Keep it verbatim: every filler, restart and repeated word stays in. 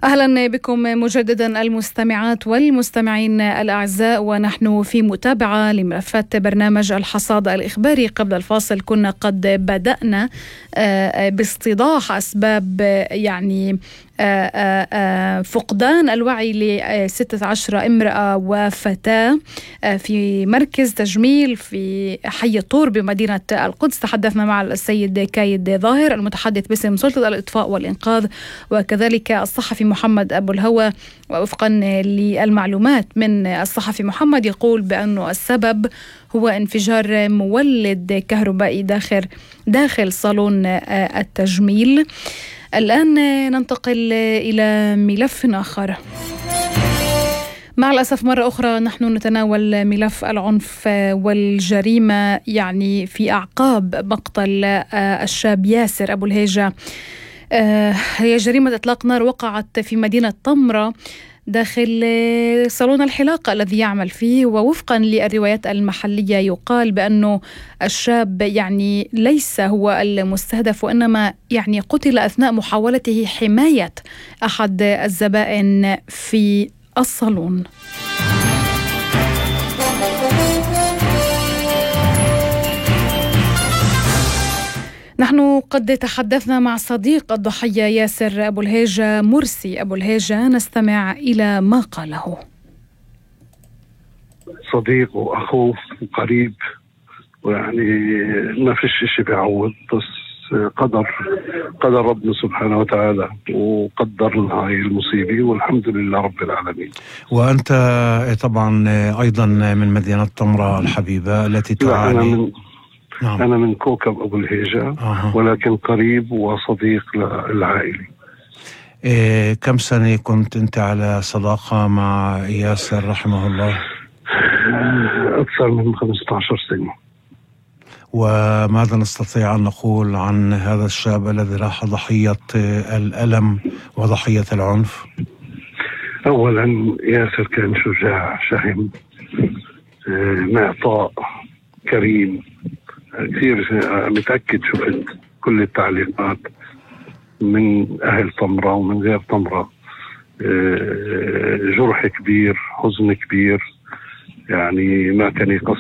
أهلا بكم مجددا المستمعات والمستمعين الأعزاء، ونحن في متابعة لملفات برنامج الحصاد الإخباري. قبل الفاصل كنا قد بدأنا باستيضاح أسباب يعني فقدان الوعي لستة عشر امرأة وفتاة في مركز تجميل في حي الطور بمدينة القدس. تحدثنا مع السيد كايد ظاهر المتحدث باسم سلطة الإطفاء والإنقاذ، وكذلك الصحفي محمد أبو الهوى. ووفقا للمعلومات من الصحفي محمد يقول بأنه السبب هو انفجار مولد كهربائي داخل داخل صالون التجميل. الآن ننتقل إلى ملف آخر. مع الأسف مرة أخرى نحن نتناول ملف العنف والجريمة يعني في أعقاب مقتل الشاب ياسر أبو الهيجة. هي جريمة إطلاق نار وقعت في مدينة طمرة داخل صالون الحلاقة الذي يعمل فيه، ووفقا للروايات المحلية يقال بأنه الشاب يعني ليس هو المستهدف، وإنما يعني قتل أثناء محاولته حماية أحد الزبائن في الصالون. نحن قد تحدثنا مع صديق الضحية ياسر أبو الهيجة مرسي أبو الهيجة، نستمع إلى ما قاله. صديق وأخوه وقريب، ويعني ما فيش شيء بيعوض، بس قدر قدر ربنا سبحانه وتعالى وقدر لنا هاي المصيبة، والحمد لله رب العالمين. وأنت طبعا أيضا من مدينة طمرة الحبيبة التي تعاني. نعم. أنا من كوكب أبو الهيجة. آه. ولكن قريب وصديق للعائلة. إيه كم سنة كنت أنت على صداقة مع ياسر رحمه الله؟ أكثر من خمسة عشر سنة. وماذا نستطيع أن نقول عن هذا الشاب الذي راح ضحية الألم وضحية العنف؟ أولا ياسر كان شجاع شهم، معطاء كريم كثير. متأكد شفت كل التعليقات من أهل طمرة ومن غير طمرة، جرح كبير، حزن كبير، يعني ما كان يقصر